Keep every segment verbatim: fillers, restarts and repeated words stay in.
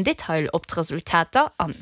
Detail op d'Resultater an.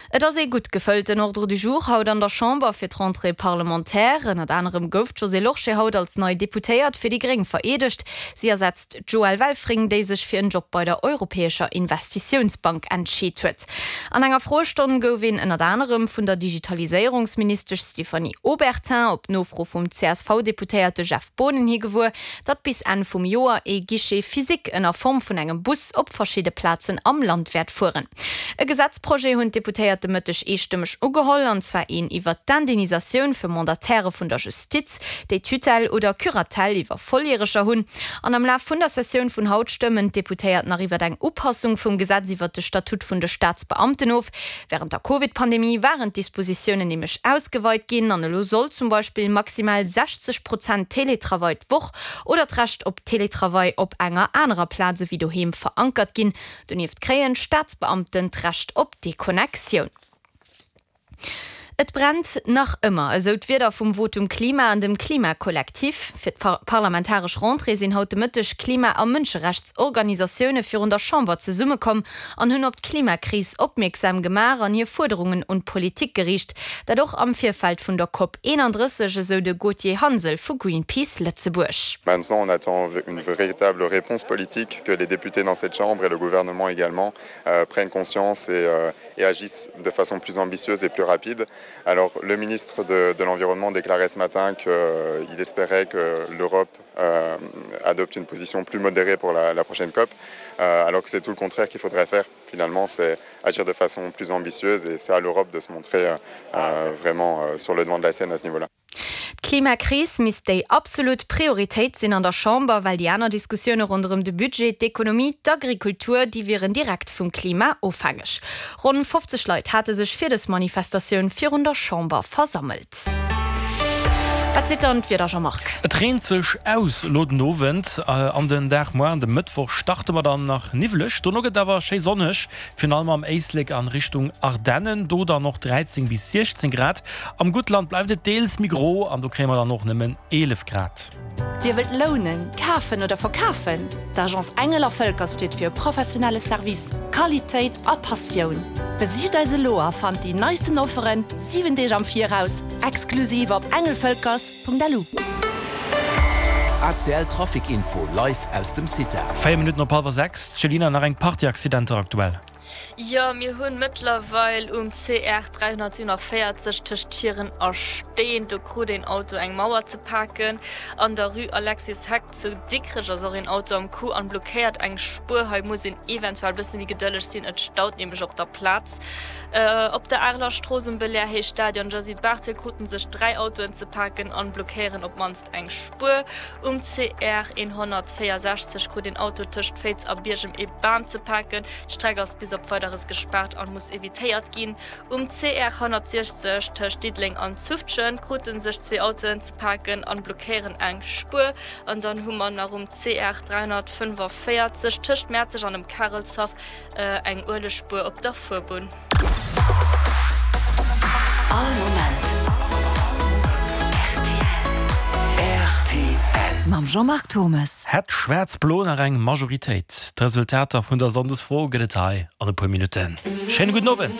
Et ass ee gutt gefëllten Ordre du jour haut an der Chamber fir d'Rentrée parlementaire. Ënnert anerem gouf d'Josée Lorsché haut als nei Deputéiert fir déi Gréng vereedegt. Si ersetzt d'Joëlle Welfring, déi sech fir en Job bei der Europäescher Investitiounsbank entscheet huet. An enger Froestonn gouf een ënnert anerem vun der Digitaliséierungsministesch Stéphanie Obertin op Nofro vum C S V-Deputéierte Jeff Boonen hi gewuer, datt bis Enn vum Joer ee Guichet physique ënner Form vun engem Bus op verschidde Plazen am Land wäert fueren. E Gesetzprojet hunn d'Deputéiert de Mëtteg eestëmmeg ugeholl, an zwar een iwwer d'Indemnisatioun fir Mandatairë vun der Justiz, déi Tutelle oder Curatelle iwwer Volljäreger hunn. An am Laf vun der Sessioun vun haut stëmmen d'Deputéiert nach iwwer eng Upassung vum Gesetz iwwer de Statut vun de Staatsbeamten of. Wärend der Covid-Pandemie waren d'Dispositiounen nämlech ausgeweit ginn an elo soll zum Beispill maximal sechzeg Prozent Teletravail d'Woch oder d'Recht op Teletravail op enger anerer Plaz ewéi doheem verankert ginn. Donieft kréien d'Staatsbeamten d'Recht op Deconnectioun. Et brennt nach ëmmer, esou d'Wierder vum Votum Klima an dem Klimakollektiv. Fir d'parlamentaresch Rentrée sinn haut de Mëtteg Klima a Mënscherechtsorganisatioune virun der Chamber zesummekomm an hunn op d'Klimakris opmierksam gemaach an hir Fuerderungen un d'Politik geriicht. Dat och am Virfeld vun der Cop eenandrësseg, esou de Gauthier Hansel vu Greenpeace Lëtzebuerg. Maintenant, on attend une véritable réponse politique, que les députés dans cette chambre et le gouvernement également prennent conscience et, et agissent de façon plus ambitieuse et plus rapide. Alors le ministre de, de l'Environnement déclarait ce matin qu'il euh, espérait que l'Europe euh, adopte une position plus modérée pour la, la prochaine COP, euh, alors que c'est tout le contraire qu'il faudrait faire. Finalement, c'est agir de façon plus ambitieuse et c'est à l'Europe de se montrer euh, vraiment euh, sur le devant de la scène à ce niveau-là. D'Klimakris misst déi absolut Prioritéit sinn an der Chamber, well déi aner Diskussioune ronderëm de Budget, d'Ekonomie, d'Agrikultur, déi wieren direkt vum Klima ofhängeg. Ronn fofzeg Leit hate sech fir dës Manifestatioun virun der Chamber versammelt. Wat seet dann d'Wieder, Jean-Marc? Et reent sech aus elo den Owend an den Dag. Muer an de Mëttwoch starte mer dann nach niwweleg, dono gëtt et awer schéi sonneg, virun allem am Éislek an Richtung Ardennen, do dann och dräizéng bis siechzéng Grad. Am Guttland bleift et deels méi gro an do kréie mer dann och nëmmen eelef Grad. Dir wëllt lounen, kafen oder verkafen? D'Agence Engel a Völkers steet fir professionelle Service, Qualitéit a Passioun. Besicht eis elo a fannt déi neisten Offeren siwen Deeg am Viraus, exklusiv op engelvölkers Punkt lu. A C L Trafic Info live aus dem CITA. Véier Minutten op hallwer sechs, Céline, nach eng Partie Accidenter aktuell. Jo, mir hunn mëttlerweil um C R dräihonnertsiewenenvéierzeg tëscht Schieren a Steen, do krut een Auto eng Mauer ze paken. An der Rue Alexis Heck zu Dikrech ass och een Auto am Coup an blockéiert eng Spuer. Hei muss een eventuell bësse méi gedëlleg sinn, et staut nämlech op der Plaz. Op der Areler Strooss um Belair Héich Stadion Josy Barthel kruten sech dräi Autoen ze paken an blockéieren op d'mannst eng Spuer. Um C R hundertvéierundsechzeg krut een Auto tëscht Féiz a Biergem ee Bam ze paken. D'Streck ass bis op Weideres gespaart an muss evitéiert ginn. Um C R honnertsiechzeg tëscht Diddeleng an Zufftgen krute sech zwee Autoen ze paken an blockéieren eng Spuer. An dann hu mer nach um C R dräihonnertfënnefenvéierzeg tëscht Mäerzeg an dem Karelshaff eng Uelegspuer op der Fuerbunn. All Moment R T L mam Jean-Marc Thommes. Hätt Schwaarz-Blo nach eng Majoritéit? D'Resultater vun der Sonndesfro gëtt et hei an e puer Minutten. Schéine gudden Owend.